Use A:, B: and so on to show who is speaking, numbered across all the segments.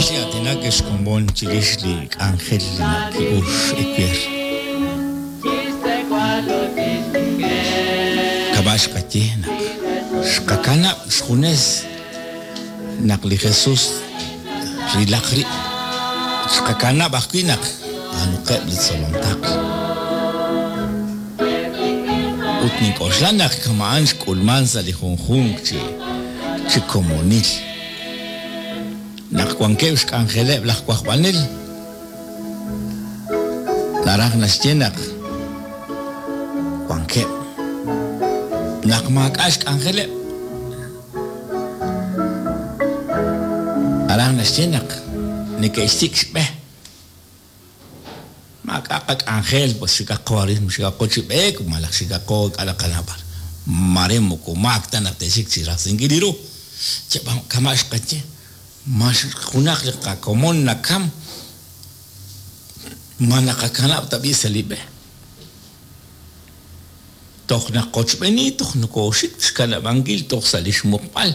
A: Chi aatinak ex komon chirix li k'anjel li naki'ux ewer. Kama' xqaye naq xqakanab' xjunes naq li Jesus rilaq rib'. Xqakanab' ajwi' naq b'aanuqeb' li tzolom taql. Ut nink'oxla naq kama'an xk'ulman sa' li junjunq chi chi komonil. Naq wankeb' xk'anjeleb' laj wajb'anel, naraj naxye naq wankeb'. Naq maak'a' xk'anjeleb', naraj naxye naq neke'xsik' xb'e. Maak'a' qak'anjel, pues xikaqo arin, xikaqo chi b'eek malaj xikaqo ink'a' naqanaw b'ar. Mare moko maak ta naq te'xik chi rajsinkil li ru. Kama' xqaye, ma junaq li qakomon nakam, ma naqakanab' tab'i' sa' li b'e. Toj naqochb'eeni, toj nokooxik xkanab'ankil toj sa' li xmuqb'al,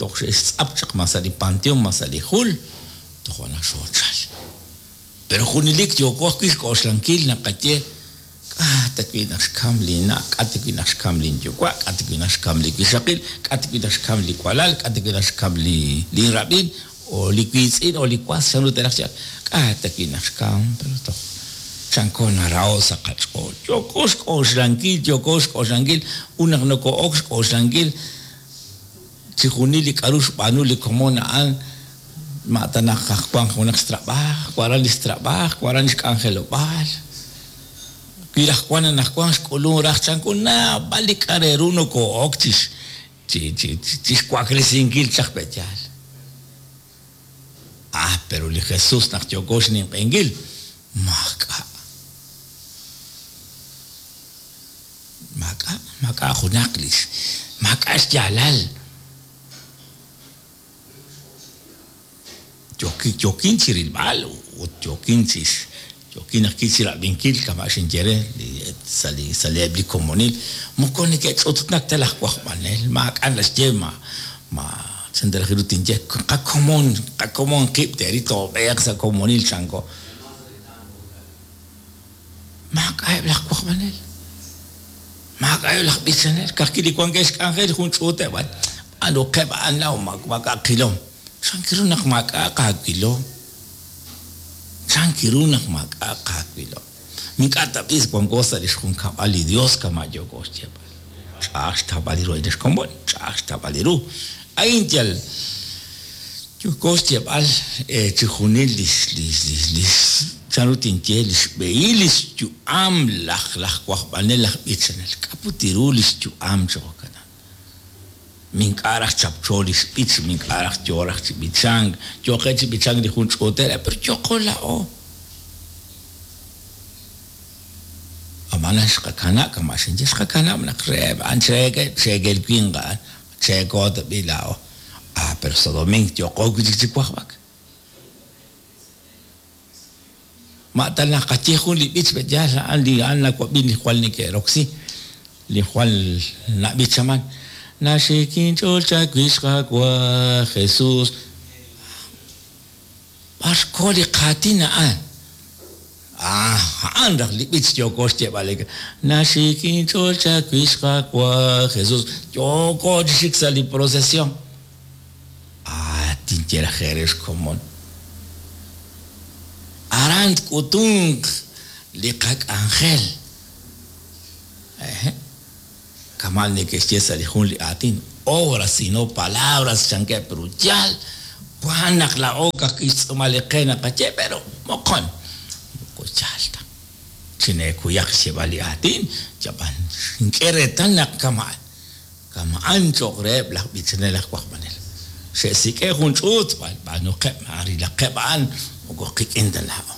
A: toj xe'xtz'ap chaq ma sa' li panteon ma sa' li jul, toja' naq xoochal. Pero junelik yooko ajwi' xk'oxlankil naqaye, K'a' ta wi' naq xkam linna', k'a' ta wi' naq xkam linyuwa', k'a' ta wi' naq xkam li wixaqil, k'a' ta wi' naq xkam li walal, k'a' ta wi' naq xkam linrab'in, o li wiitz'in o li was, chanru te'raj chi k'a' ta wi' naq xkam, pero toj chanko naraho' sa' qach'ool. Yooko xk'oxlankil, yooko xk'oxlankil, ut naq noko'ok xk'oxlankil chijunil li k'a'ru xb'aanu li komon a'an, Ma ta naq aj wank junaq xtrab'aaj, waran li xtrab'aaj, waran li xk'anjelob'aal. Wi raj wank anaqwan xk'ulunk raj chanku naab'al li k'a' re ru nokoo'ok chi chi xwaklesinkil chaq pe' yaal. Ah, pero li Jesús naq yooko xninq'ehinkil, maak'a'. Maak'a', maak'a' junaq li maak'a' xyaalal. Yookin chi rilb'al ut yookin chi yookin ajwi' chi rab'inkil kama' xinye re li sa' li sa' li eb' li komonil moko neke'ch'utnak ta laj wajb'anel, maak'a' naxye ma ma chan ta raj ru tinye qakomon qakomon qib' teeril toob'eeq sa' komonil chanko. Maak'a'eb' laj wajb'anel, maak'a'eb' laj b'ichanel, ka'ajwi' li wankeb' xk'anjel jun ch'uuteb' a'an, b'aanuqeb' a'an laa'o maak'a' qilom. Chan ru naq maak'a'aq aawilom? Chan ru naq maak'a'aq aawilom? Ink'a' tab'i' wanko sa' li xjunkab'al li Yos kama' yooko xyeeb'al. Ch'a'aj xtawb'al ru a'in xkomon, ch'a'aj xtawb'al ru. A'in yal yooko xyeeb'al chixjunil lix lix lix chanru tinye li xb'ehil li xyu'am laj laj wajb'anel laj b'ichanel. K'a' put ru li xyu'am chi jo'kan? Mink'a' raj chapcho li xb'ich, mink'a' raj yo raj chi b'ichank, yooqeb' chi b'ichank li jun ch'uutel, pero yooqo laa'o. Ab'anan xqakanab' kama' xinye, xqakanab' naq reheb' a'an cheekel, cheekel winq a'an, cheeko ta b'i' laa'o. Ah, pero sa' domink yooqo wi' chik chi wajb'ak. Ma ta naqaye jun li b'ich pe' yaal a'an li a'an nawab'i li jwal neke'roksi, li jwal nab'ichaman, Naxik inch'ool chawix Qaawa' Jesus. B'ar xko li qaatin a'an? Ah, a'an raj li b'ich yooko xyeeb'al. Naxik inch'ool chawix Qaawa' Jesus. Yooko chi xik sa' li procesión. Ah, tinye raj eere xkomon. Aran tk'utunq li qak'anjel. Ehe'. Kama' neke'xye sa' li jun li aatin, obras y no palabras chankeb' pero yaal wan naq laa'o ka'ajwi' xtz'uumal li qe naqaye pero moqon moko yaal ta. Chineekuyaq xyeeb'al li aatin, ab'an xink'e reetal naq kama'an. Kama'an cho'q reheb' laj b'ichanel aj wajb'anel. Xe'sik'e' jun ch'uut, b'aanuqeb' rilaqeb' a'an moko qik'in ta laa'o.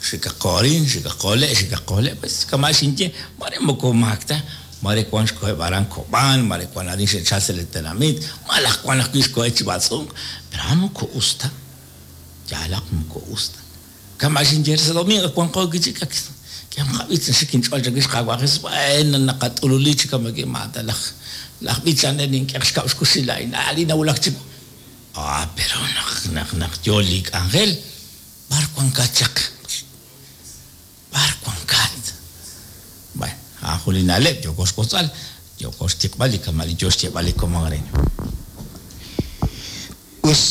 A: Xikaqo arin, xikaqo le', xikaqo le', pues kama' xinye, mare moko maak ta, mare wan xkoheb' aran Kob'an, mare wan arin xe'chal sa' li tenamit, malaj wan ajwi' xkoheb' chi b'atz'unk, pero a'an moko us ta, yaalaq moko us ta. Kama' xinye re sa' domingo ak wanqo wi' chik, ak k'ehom qab'ich naxik inch'ool chawix Qaawa' Jesús, bueno naqat'ululi chi kama' ma ta laj laj b'ichanel nink'e xkab' xkuxil laa'in, a' li nawulak chiwu. Ah, pero naq naq naq yo li k'anjel, b'ar wankat chaq? B'ar wankat? Bueno, a'an jun li na'leb' yooko xwotzb'al, yooko xtiqb'al li kama' li yo xyeeb'al li komon arin.
B: Us,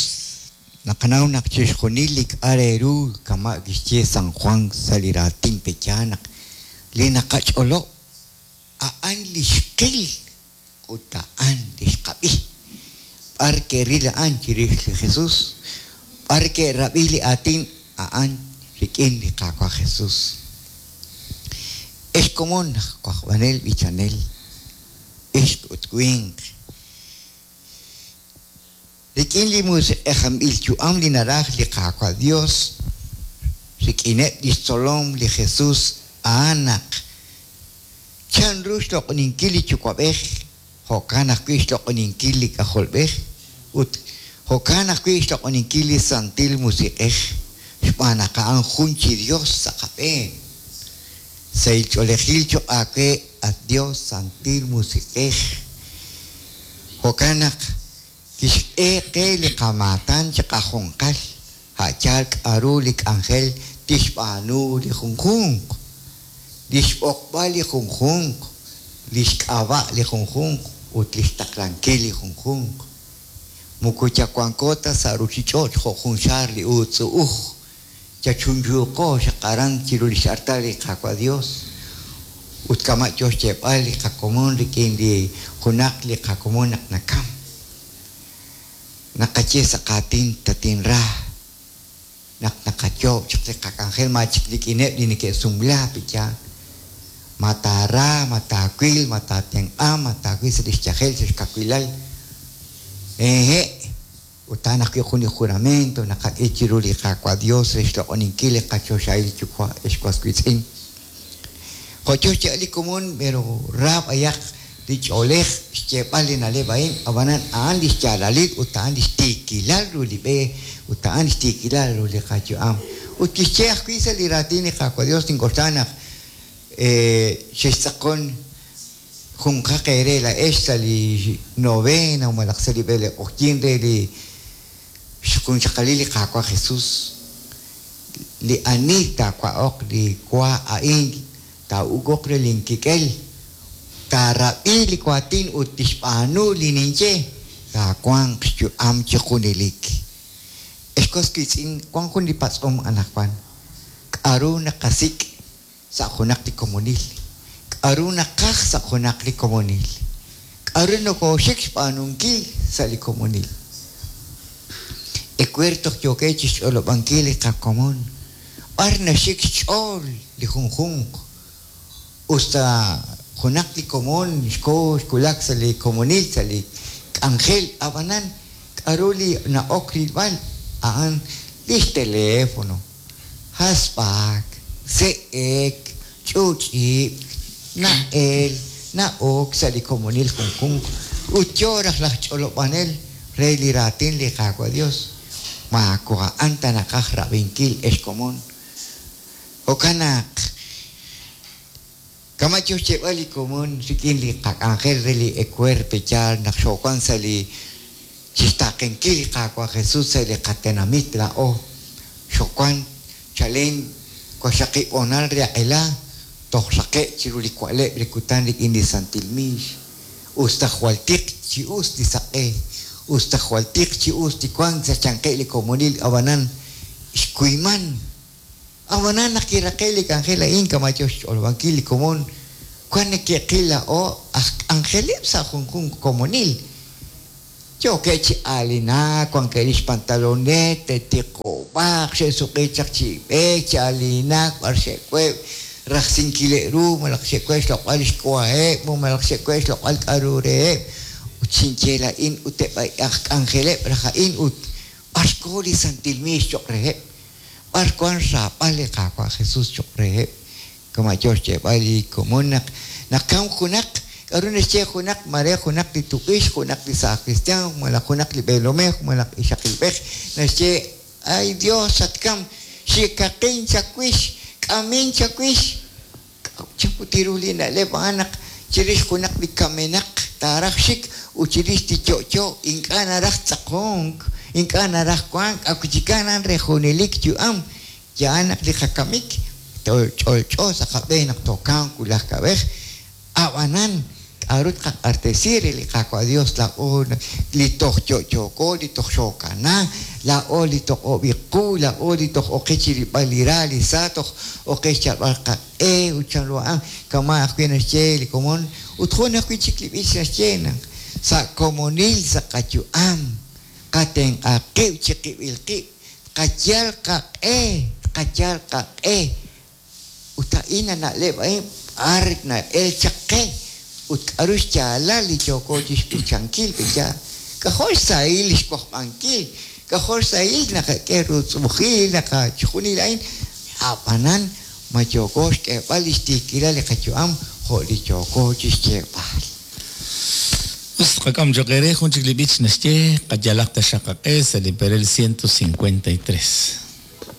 B: naqanaw naq chixjunil li k'a' re ru kama' kixye San Juan sa' li raatin pe'yaal naq li naqach'olob' a'an li xqil ut a'an li xqab'i. B'ar ke'ril a'an chirix li Jesús, b'ar ke'rab'i li aatin a'an rik'in li Qaawa' Jesús. Ex komon aj wajb'anel b'ichanel, ixq ut winq, rik'in li musiq'ejanb'il yu'am li naraj li Qaawa' Dios, rik'ineb' lix tzolom li Jesús a'an naq chanru xloq'oninkil li Yuwa'b'ej, jo'kan ajwi' xloq'oninkil li K'ajolb'ej, ut jo'kan ajwi' xloq'oninkil li Santil Musiq'ej, xb'aan naq a'an jun chi Dios sa' qab'een. Sahil ch'oolejil choq' aawe, at Dios Santil Musiq'ej. Jo'kan naq kixk'e qe li qamaatan chiqajunqal, a' yaal k'a'ru li k'anjel tixb'aanu li junjunq, li xb'oqb'al li junjunq, li xk'ab'a' li junjunq ut li xtaqlankil li junjunq. Moko yawanko ta sa' ruuchich'och' jo' jun xaar li uutz'u'uj, yachunchuuqo xaq aran chiru li x'artal li Qaawa' Dios. Ut kama' yo xyeeb'al li qakomon rik'in li junaq li qakomon naq nakam. Naqaye sa' qaatin tatinra, naq naqayoob' chaq li qak'anjel ma chik rik'ineb' li neke'sumla pe'yaal. Ma taara, ma taawil, ma taatenq'a, ma taawil sa' li xyajel, sa' xkawilal. Hehe', ut a'an ajwi' jun li juramento naqak'e chiru li Qaawa' Dios re xloq'oninkil li qachoxahil Yuwa' ex was wiitz'in. Jo' yo xyeeb'al li komon, pero ra b'ayaq li ch'oolej xyeeb'al li na'leb' a'in, ab'anan a'an li xyaalalil ut a'an li xtiikilal ru li b'e ut a'an li xtiikilal ru li qayu'am. Ut kixye ajwi' sa' li raatin li Qaawa' Dios nink'oxla naq xextz'aqon junqaq eere laa'ex sa' li novena malaj sa' li b'ele q'oqyink re li xjunxaqalil li Qaawa' Jesús. Li ani taawa'oq li wa a'in taa'uk'uq re linkik'el, taarab'i li waatin ut tixb'aanu li ninye, taawanq xyu'am chi junelik. Ex was wiitz'in, wank jun li patz'om anaqwan. K'aru naqasik' sa' junaq li komonil? K'aru naqaj sa' junaq li komonil? K'aru nokooxik xb'aanunkil sa' li komonil? Ewer toj yookeb' chi xch'olob'ankil li qakomon, b'ar naxik xch'ool li junjunq. Us ta junaq li komon xko xwulak sa' li komonil, sa' li k'anjel, ab'anan k'aru li na'ok rilb'al a'an li xteléfono, hasb'ak, se'ek, ch'uch'ib'k, na'el, na'ok sa' li komonil junjunq ut yo raj laj ch'olob'anel re li raatin li Qaawa' Dios. Moko a'an ta naqaj rab'inkil ex komon. Jo'kan naq kama' yo xyeeb'al li komon rik'in li qak'anjel re li ewer pe'yaal naq xoowank sa' li chixtaaqenkil li Qaawa' Jesús sa' li qatenamit laa'o xoowank chalen waqxaqib' honal re aq'ela toj raqe' chiru li wa'leb' li kutan rik'in li Santil Miix. Us ta jwal tiq chi us li saq'e, us ta jwal tiq chi us li wank sa' xyanqeb' li komonil, ab'anan xkuyman. Ab'anan naq kiraqe' li k'anjel a'in kama' yo xch'olob'ankil li komon, wank neke'qil laa'o aj k'anjeleb' sa' junjunq komonil. Yookeb' chi aalinak, wankeb' li xpantalonet, te'tiqob'aq, xe'suq'i chaq chi b'eek, chi aalinak, b'ar xe'web' rajsinkileb' ru, malaj xe'web' xloq'b'al li xwaheb' malaj xe'web' xloq'b'al k'aru reheb'. Ut xinye laa'in ut eb' aj k'anjeleb' raj a'in ut b'ar xko li Santil Miix cho'q reheb', b'ar wank xraab'al li Qaawa' Jesús cho'q reheb'. Kama' yo xyeeb'al li komon naq nakamk junaq, k'aru naxye junaq, mare junaq li tuq'ix, junaq li saaj kristiaan, malaj junaq li b'eelomej, malaj ixaqilb'ej, naxye, Ay Dios, xatkamk, xikaqin chawix, k'amin chawix. Chan put ru li na'leb' a'an naq chirix junaq li kamenaq taaraj xik ut chirix li yo'yo ink'a' naraj tz'aqonk, Ink'a' naraj wank akuchikan a'an re junelik yu'am. Ya'an naq li qakamik ch'olch'o sa' qab'een naq tookamq wulaj kab'ej. Ab'anan k'aru tqaq'axtesi re li Qaawa' Dios laa'o li toj yo'yooko, li toj xookana, laa'o li toj ob'i qu, laa'o li toj oqe chi rilb'al li ra, li sa, toj oqe xyalb'al qaq'e ut chanru a'an kama' ajwi' naxye li komon ut jun ajwi' chik li b'ich naxye naq sa' komonil sa' qayu'am qatenq'a qib' chiqib'il qib', tqayal qaq'e, tqayal qaq'e ut a'in a na'leb' a'in b'ar na'el chaq qe ut k'aru xyaalal li yooko chixb'ichankil pe'yaal. K'ajo' xsahil li xwajb'ankil, k'ajo' xsahil naqak'e rutz'b'ujil naqachijunil a'in, ab'anan ma yooko xk'eeb'al li xtiikilal li qayu'am jo' li yooko chixyeeb'al.
A: Us tqak'am cho'q eere jun chik li b'ich naxye qayalaq taxaq qaq'e sa' li perel 153.